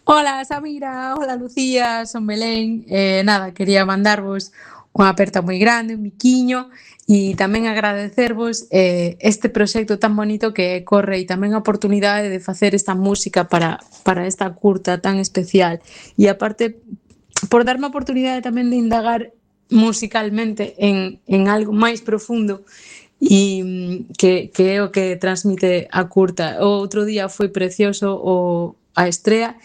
Hola Samira, hola Lucía, son Belén. Nada, quería mandarvos unha aperta moi grande, un biquiño e tamén agradecervos este proxecto tan bonito que corre e tamén a oportunidade de facer esta música para esta curta tan especial. E aparte, por darme a oportunidade tamén de indagar musicalmente en algo máis profundo que é o que transmite a curta. O outro día foi precioso a estrea,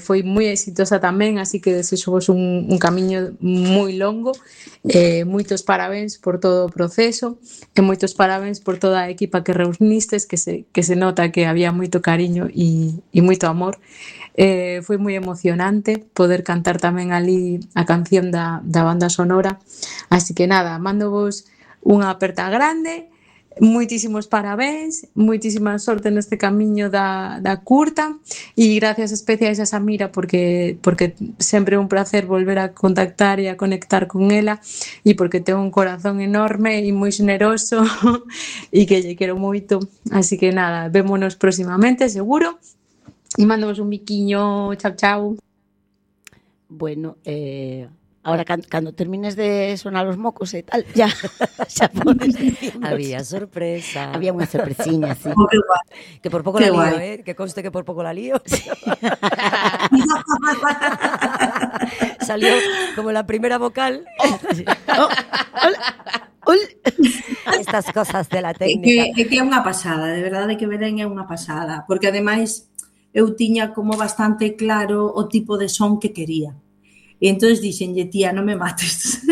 foi moi exitosa tamén, así que desexo vos un camiño moi longo, moitos parabéns por todo o proceso e moitos parabéns por toda a equipa que reunistes, que se nota que había moito cariño e moito amor. Foi moi emocionante poder cantar tamén ali a canción da banda sonora, así que nada, mando vos unha aperta grande, moitísimos parabéns, moitísima sorte neste camiño da curta e gracias especiais a Samira porque sempre é un placer volver a contactar e a conectar con ela e porque ten un corazón enorme e moi xeneroso e que lle quero moito, así que nada, vémonos próximamente seguro e mandamos un biquiño, chao chao. Bueno, ahora cando termines de sonar os mocos e tal, ya xa podes dicirnos. Había sorpresa. Había unha sorpresiña, sí. Oh, qué guay, Que por pouco qué la lío, guay. que conste que por pouco la lío. Salió como la primera vocal. Oh, hola, hola. Estas cosas de la É técnica. que é unha pasada, de verdade que Belén é unha pasada, porque ademais eu tiña como bastante claro o tipo de son que quería. E entón dixenlle, tía, non me mates,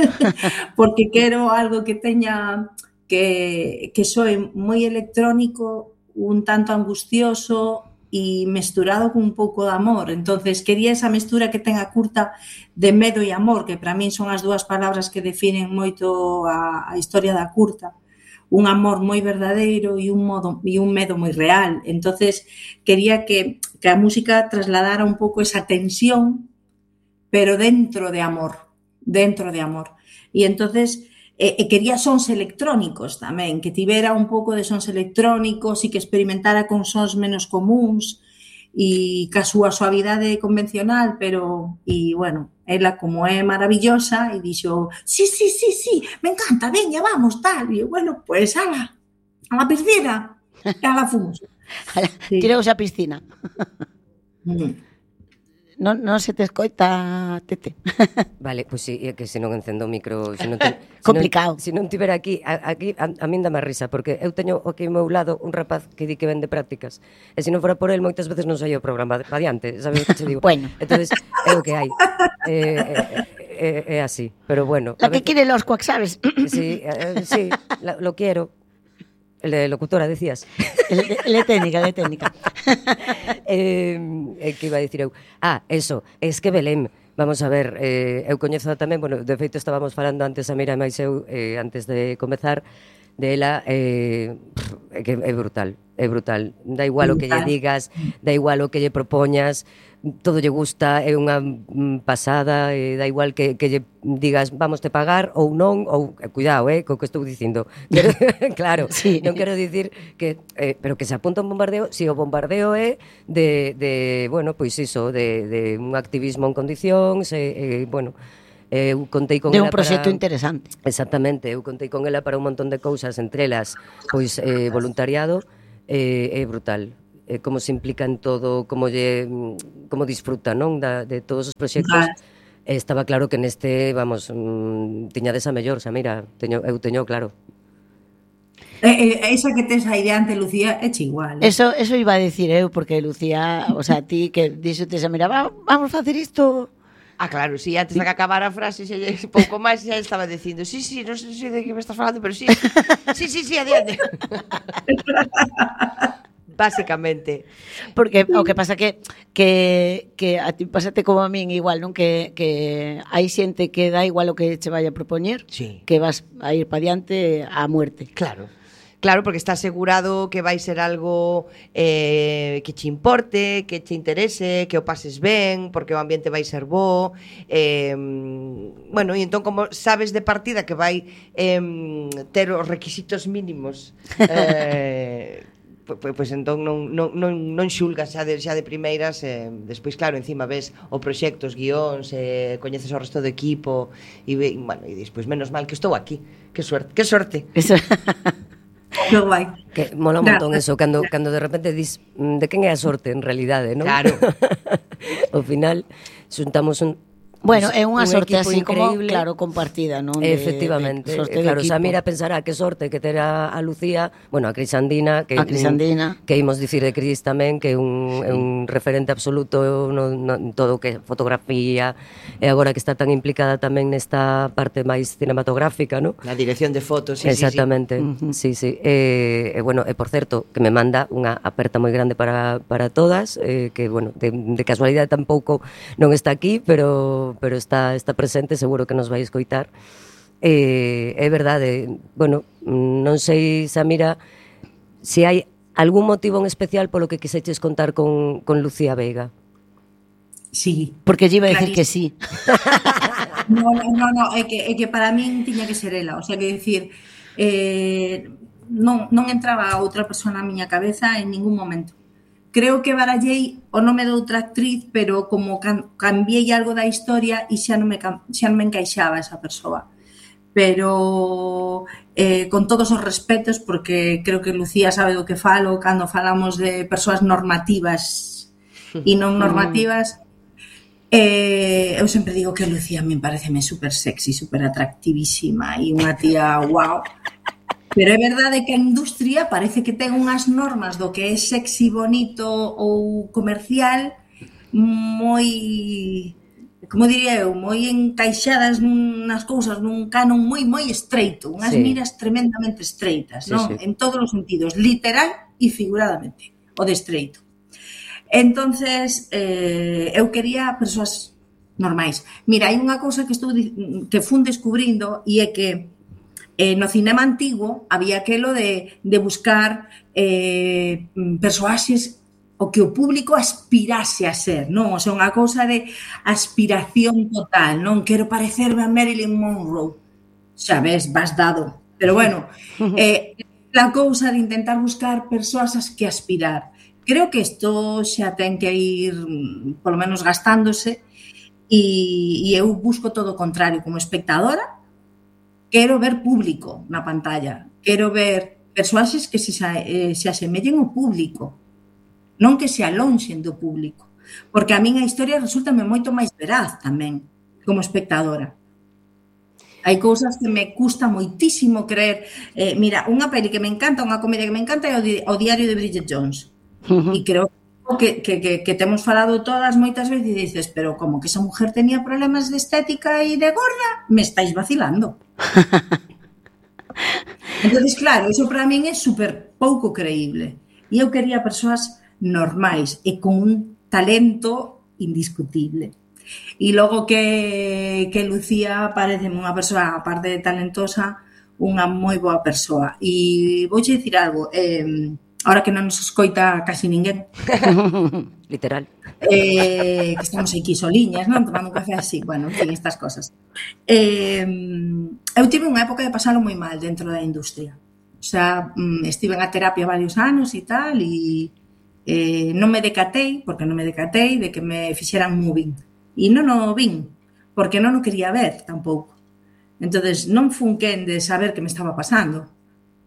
porque quero algo que teña, que soe moi electrónico, un tanto angustioso e mesturado con un pouco de amor. Entonces quería esa mestura que ten a curta de medo e amor, que para min son as dúas palabras que definen moito a historia da curta. Un amor moi verdadeiro e un medo moi real. Entonces quería que a música trasladara un pouco esa tensión, pero dentro de amor, dentro de amor. E entonces quería sons electrónicos tamén, que tivera un pouco de sons electrónicos e que experimentara con sons menos comuns e ca súa suavidade convencional, pero, e bueno, ela como é maravillosa e dixo, sí, me encanta, veña, vamos, tal, e eu, bueno, pues ala, a la piscina, e ala fomos. Sí. Tireos a piscina. Non se te escoita, Tete. Vale, pois sí, é que se non encendo o micro, Complicado. Se non tivera aquí a min dá má risa, porque eu teño aquí ao meu lado un rapaz que di que vende prácticas, e se non fora por el moitas veces non saía o programa adiante, sabes o que te digo? Bueno. Entonces, é o que hai. É así, pero bueno. La que quiere los cuac, ¿sabes? Sí, sí, lo quiero. El de locutora, decías. El de técnica. Que iba a dicir eu? Eso, es que Belén, vamos a ver, eu coñezo tamén, bueno, de feito estábamos falando antes a Mira e máis eu, antes de comezar, de ela, que é brutal, da igual o que lle digas, da igual o que lle propoñas, todo lle gusta, é unha pasada, da igual que lle digas vamos te pagar ou non, ou cuidado, co que estou dicindo. Claro, sí. Non quero dicir que pero que se apunta un bombardeo, si o bombardeo é de bueno, pois iso, de un activismo en condicións, bueno, eu contei con de ela un proxecto para... interesante. Exactamente, eu contei con ela para un montón de cousas, entre elas, pois voluntariado, é brutal. Como se implica en todo, como disfruta, non, de todos os proxectos. Estaba claro que neste, vamos, tiñades a mellor, Samira, eu teño claro. Esa que tes aí diante, Lucía, é igual. Eso iba a decir eu, porque Lucía, o sea, ti que dixote, Samira, vamos facer isto... claro, sí, antes de que acabara a frase pouco máis xa estaba dicindo sí, non sei de que me estás falando, pero sí, adiante. Básicamente. Porque o que pasa que a ti pásate como a min igual, non? Que hai xente que dá igual o que che vai a propoñer, sí, que vas a ir pa diante á muerte. Claro, porque está asegurado que vai ser algo que che importe, que che interese, que o pases ben, porque o ambiente vai ser bo. Bueno, e entón como sabes de partida que vai ter os requisitos mínimos pois entón non xulgas xa de primeiras, despois claro, encima ves o proxecto, os guións, coñeces o resto do equipo e bueno, e despois menos mal que estou aquí. Que sorte. Eso. Que guai. Que mola un montón eso, cando de repente dis de quen é a sorte en realidade, non? Claro. Ao final xuntamos Bueno, é unha sorte equipo así como, increíble. claro, compartida, non? Efectivamente, Sorte de claro, equipo. Samira pensará que sorte que terá a Lucía, bueno, a Crisandina, que imos dicir de Cris tamén, que é un referente absoluto en todo o que é fotografía, e agora que está tan implicada tamén nesta parte máis cinematográfica, ¿no? Na dirección de fotos, sí, Exactamente, sí. E bueno, e por certo, que me manda unha aperta moi grande para todas, que, bueno, de casualidade tampouco non está aquí, pero está presente, seguro que nos vai escoitar. É verdade, bueno, non sei, Samira, se hai algún motivo en especial polo que quiseches contar con Lucía Veiga. Sí. Porque lle iba a decir que sí. No, é que para min tiña que ser ela, o sea, que decir, non entraba outra persona na miña cabeza en ningún momento. Creo que barallei o nome de outra actriz, pero como cambiei algo da historia e xa non me encaixaba esa persoa. Pero con todos os respetos, porque creo que Lucía sabe do que falo cando falamos de persoas normativas e non normativas. Eu sempre digo que Lucía me pareceme super sexy, super atractivísima e unha tía wow. Pero é verdade que a industria parece que ten unhas normas do que é sexy, bonito ou comercial moi, como diría eu, moi encaixadas nas cousas, nun canon moi estreito, unhas miras tremendamente estreitas, non? En todos os sentidos, literal e figuradamente, o de estreito. Entonces, eu quería persoas normais. Mira, hai unha cousa que fun descubrindo e é que no cinema antigo había aquelo de buscar persoaxes o que o público aspirase a ser, non? O sea, unha cousa de aspiración total, non? Quero parecerme a Marilyn Monroe. Xa ves, vas dado. Pero bueno, a cousa de intentar buscar persoas as que aspirar. Creo que isto xa ten que ir, polo menos, gastándose e eu busco todo o contrario. Como espectadora, quero ver público na pantalla. Quero ver persoaxes que se asemellen ao público. Non que se alonxen do público. Porque a min a historia resultame moito máis veraz tamén, como espectadora. Hai cousas que me custa moitísimo creer. Mira, unha peli que me encanta, unha comedia que me encanta é o Diario de Bridget Jones. E creo que temos falado todas moitas veces e dices, pero como que esa mujer tenía problemas de estética e de gorda? Me estáis vacilando. Entonces, claro, eso para min é super pouco creíble. E eu quería persoas normais e con un talento indiscutible. E logo que Lucía parece unha persoa, aparte de talentosa, unha moi boa persoa. E vouche dicir algo, ahora que non nos escoita casi ninguén. Literal. Que estamos aquí soliñas, non? Tomando un café así, bueno, en fin, estas cosas. Eu tive unha época de pasalo moi mal dentro da industria. O sea, estive en a terapia varios anos e tal, e non me decatei, porque non me decatei de que me fixeran moving. E non o vin, porque non o quería ver tampouco. Entonces, non fun quen de saber que me estaba pasando,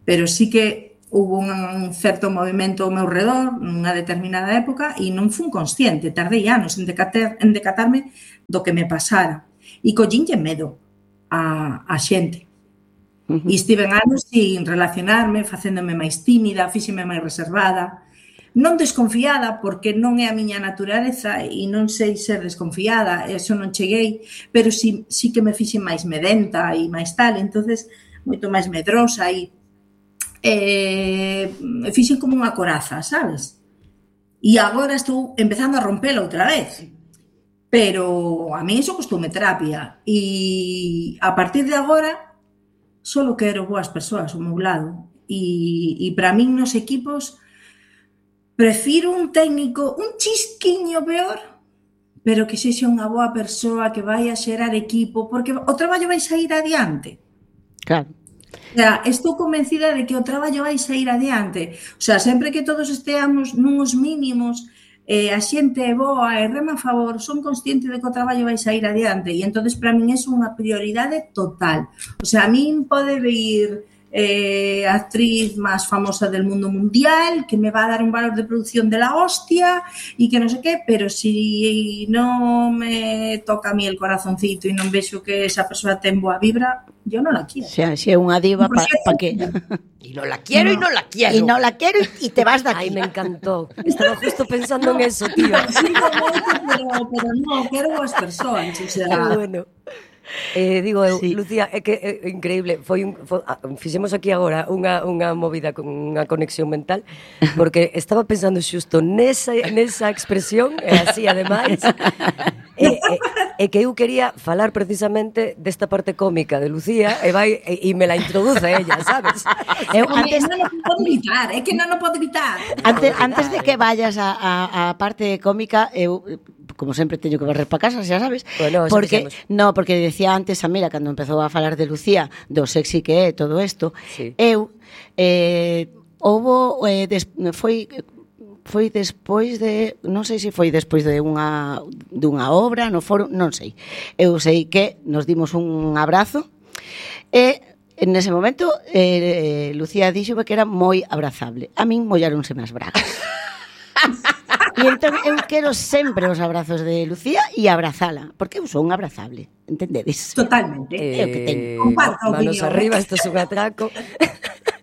pero sí que hubo un certo movimento ao meu redor nunha determinada época e non fun consciente, tardei anos en decatarme do que me pasara. E collínlle medo a xente. E estiven anos sin relacionarme, facéndome máis tímida, fíxeme máis reservada, non desconfiada, porque non é a miña naturaleza e non sei ser desconfiada, eso non cheguei, pero sí que me fixe máis medenta e máis tal, entonces moito máis medrosa e fixen como unha coraza, sabes? E agora estou empezando a rompela outra vez. Pero a mí iso costoume terapia. E a partir de agora solo quero boas persoas ao meu lado. E para min nos equipos prefiro un técnico un chisquiño peor, pero que sexa unha boa persoa que vai a xerar equipo, porque o traballo vai sair adiante. Claro. O sea, estou convencida de que o traballo vai sair adiante. O sea, sempre que todos esteamos nuns mínimos, a xente é boa e rema a favor, son consciente de que o traballo vai sair adiante e entonces para min é unha prioridade total. O sea, a min pode vir actriz máis famosa del mundo mundial que me va a dar un valor de producción de la hostia y que no sé qué, pero si no me toca a mí el corazoncito y non vexo que esa persoa ten boa vibra, yo non la quiero. O sea, si é unha diva, pa que? Y no la quiero y no la quiero. Y no la quiero y te vas de aquí. Ay, me encantó. Estaba justo pensando en eso, tío. Pero non, quero boas persoas, o sea... Qué bueno. Digo eu, Sí. Lucía, é que é increíble. Fixemos aquí agora unha movida con unha conexión mental, porque estaba pensando xusto nesa expresión, e así ademais, e que eu quería falar precisamente desta parte cómica de Lucía, e me la introduce ella, sabes? Eu Antes antes non o podo evitar, é que non o podo evitar. antes de que vayas a parte cómica, eu como sempre teño que barrer para casa, xa sabes. Bueno, porque porque decía antes a Mira cando empezou a falar de Lucía, do sexy que é todo isto. Sí. Eu foi despois de, non sei se foi despois de unha obra no foro, non sei. Eu sei que nos dimos un abrazo e nese momento Lucía dixo que era moi abrazable. A min molláronse as bragas. E entón eu quero sempre os abrazos de Lucía e abrazala, porque eu son abrazable, entendedes? Totalmente. É o que teño. Comparto a Manos opinión. arriba, isto é un atraco.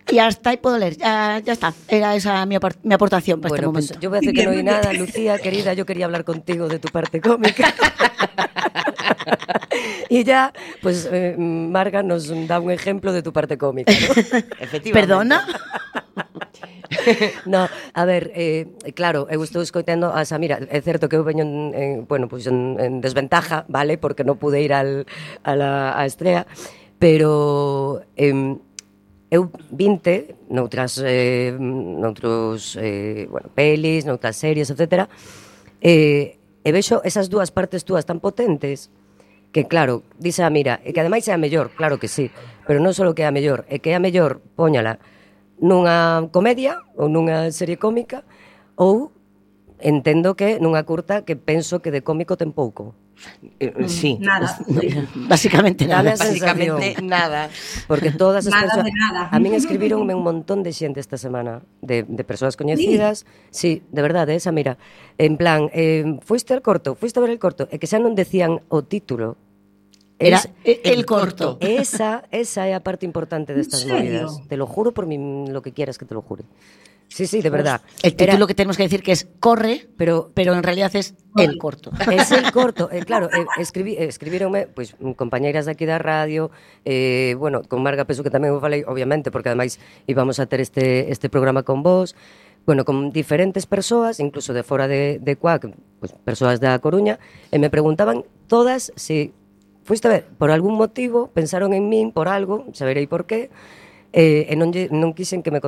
E hasta aí podo ler, ya está, era esa mi aportación para este Bueno, momento. pues yo voy a decir que no hay nada, Lucía, querida, yo quería hablar contigo de tu parte cómica. Y ya, pues Marga nos da un ejemplo de tu parte cómica, ¿no? Efectivamente. Perdona? No, a ver, claro, eu estou escoitando a Samira. É certo que eu veño en desventaja, vale, porque non pude ir a estrea, pero eu vinte noutros pelis, noutras series, etcétera, e vexo esas dúas partes túas tan potentes que, claro, dice a Mira, e que ademais é a mellor, claro que sí, pero non só que é a mellor, é que é a mellor, póñala nunha comedia ou nunha serie cómica ou entendo que nunha curta que penso que de cómico ten pouco. Sí. Nada. Básicamente nada. Dame a Básicamente sensación. nada. Porque todas as Nada persoas... de nada. A min escribironme un montón de xente esta semana, de persoas coñecidas. Sí, de verdade, esa mira. En plan, fuiste al corto, fuiste a ver el corto, e que xa non decían o título. Era el corto. Esa é a parte importante destas serio? movidas. Te lo juro por lo que quieras que te lo jure. Sí, sí, de verdad. El título que tenemos que decir que es Corre, pero en realidad es El corto. Es el corto, claro, escribíronme pois compañeiras de aquí da radio, bueno, con Marga penso que tamén o falei, obviamente, porque ademais íbamos a ter este programa con vos, bueno, con diferentes persoas, incluso de fora de Cuac, pois persoas da Coruña, e me preguntaban todas se fuiste a ver, por algún motivo, pensaron en min por algo, saberei por qué, e non quixen que me